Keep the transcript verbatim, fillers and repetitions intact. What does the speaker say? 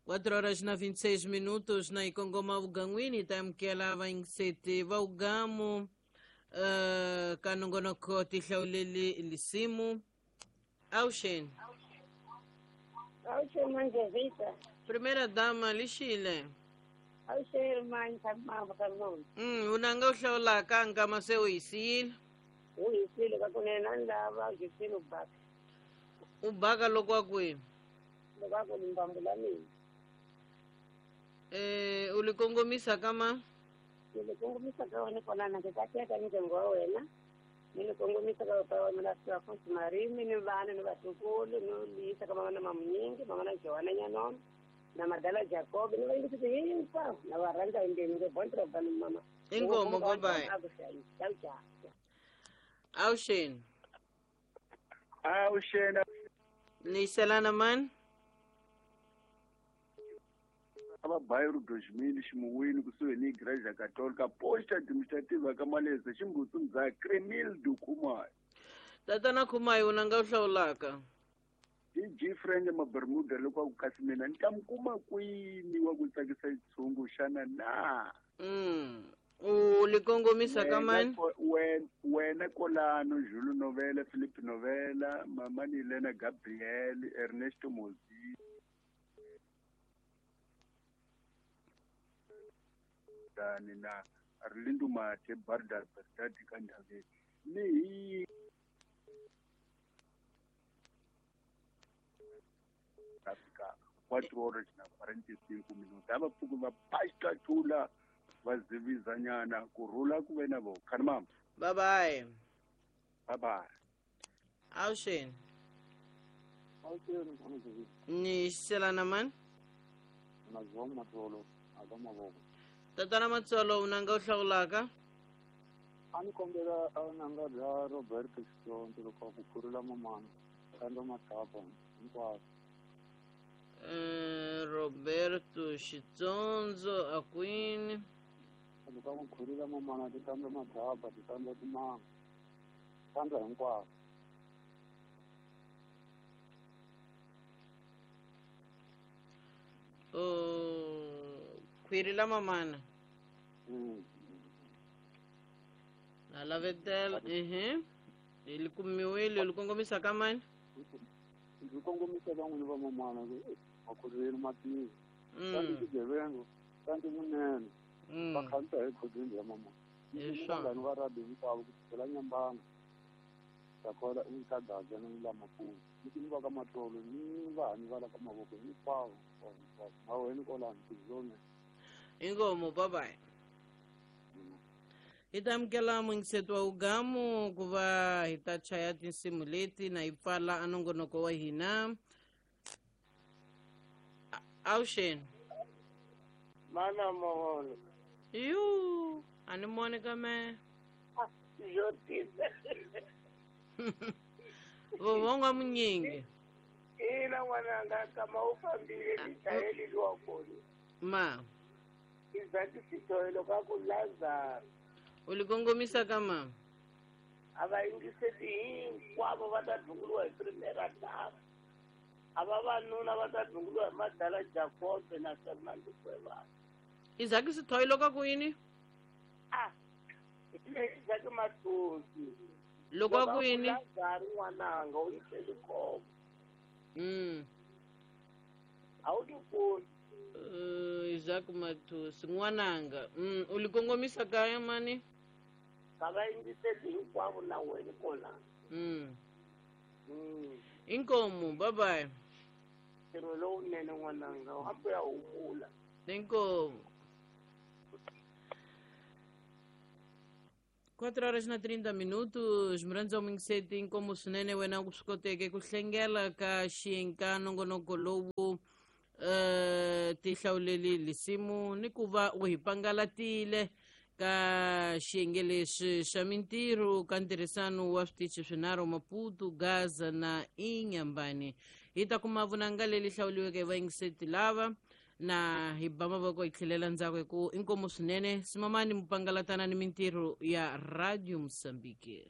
quatro horas na vinte e seis minutos na Ikongoma Ugangwini tamkela vaingiseti va ugamu uh, kanongonoko tihlauleli lisimu Auxen. Auxen Manjevita. Primeira dama lixile. Auxen manja mama. Mm, unanga uhlaula kanga mase uyisile. Uyisile kakunena ndaba ujisile ubaka. Ubaka lokwa kwihi? Lokwa limbambu la mina. Eh, ulikongomisa kama? Nilikongomisa kama niko na nakitakia ndyangu wa wena. Nilikongomisa kama pa mina Afonso Marimi ni vana ni vatukulu ni lisa kama na mamunyingi mama na Joana Nyanon na Madala Jacob ni vaingisi hinkwavo na varhandza hinkwenu nge bontra vanhu mama. Inkomo bye bye. Auxen. Auxen. Niselana man. Aba bairro dois mil ximuwini kusuhi ni Igreja Católica posta administrativa ka Maleza ximbutsu Cremildo Khumalo. Tatana Khumalo unanga uhlawulaka. D J Friend ma Bermuda loko ku kasi mina ni ta mi kuma kwini wa ku tsakisa xitshungu xana na. Mm. U likongomisa ka mani? Wena Kolano, Julu Novela, Philip Novela, Mama Nilena Gabriel, Ernesto Mozi. Na Arlindo Mate Barda Berdadi Kandave ni Afrika quatro horas na quarenta e cinco minutos aba pfuku va pasta tula va zivizanyana kurhula ku ve na vo khani mama. Bye bye. Bye bye. Auxen. Ni selana man. Tatana Matsolo unanga uhlawulaka? A ni kombela nanga bya Roberto Xitsongo loko ku khurula mamana kando mathapa hinkwaswo. Eh, Roberto Xitsongo akwini loko ku khurula mamana ti kando mathapa ti kando timanga kando hinkwaswo. Oh, khwiri la mamana. Mm. Na lavetela, ehe. Ilikumiwile ulikongomisa kama? Ndikongomisa van'wini va mamana va khuruleni matiko. Kanti xigevenga, kanti munene. Va khansa hi khudwini ya mamana. Vanghani va radio hinkwavo ku sukela Nyambana. Takola ka Gaza ni la Maputo. Ni va ka Matlolo ni vanhu va la ka mavoko hinkwavo. Maweni kolani tizone. Inkomo bye bye. Hi ta amukela muyingiseti wa ugamu ku va hi ta chaya tinsimu leti na hi pfala a nongonoko wa hina. Auxen. Mana moholo. Yu, a ni moni ka me. Yo tisa. Vovonga munyingi. Ina n'wananga kama u fambile ni chayeli luwa kona. Ma. Izati sitoelo ka ku Lazaro. Ulikongomisa kama? A va yingiseli hinkwavo va ta dlunguliwa hi primera dama. A vavanuna va ta dlunguliwa hi Madala Jacob na Fernando Cuevas. Izaki sitoelo ka ku yini? Ah, Izaki Matosi. Loko ku yini? Lazaro n'wananga u yiseli khombo. Mm. A wu ti koni. Uh, Isaac Matosi n'wananga. Mm, ulikongomisa kaya mani? Ka va yingiseli hinkwavo na wena kona. Mm. Mm. Inkomo bye bye. Ntirho lowunene n'wananga hambi ya humula. Inkomo. quatro horas na trinta minutos, murandza muyingiseti inkomo swinene wena ku swi koteke ku hlengela ka xiyenge nongonoko lowu uh, tihlawuleli lisimu ni ku va u hi pangalatile ka xiyenge lexi xa mintirho ka ntirhisano wa switichi swinharhu Maputo, Gaza na Inhambane. Hi ta kuma vunanga leli hlawuliweke hi vayingiseti lava na hi ba mavoko hi tlhelela ndzhaku hi ku inkomo swinene simamani mupangalatana ni mintirho ya Radio Mozambique.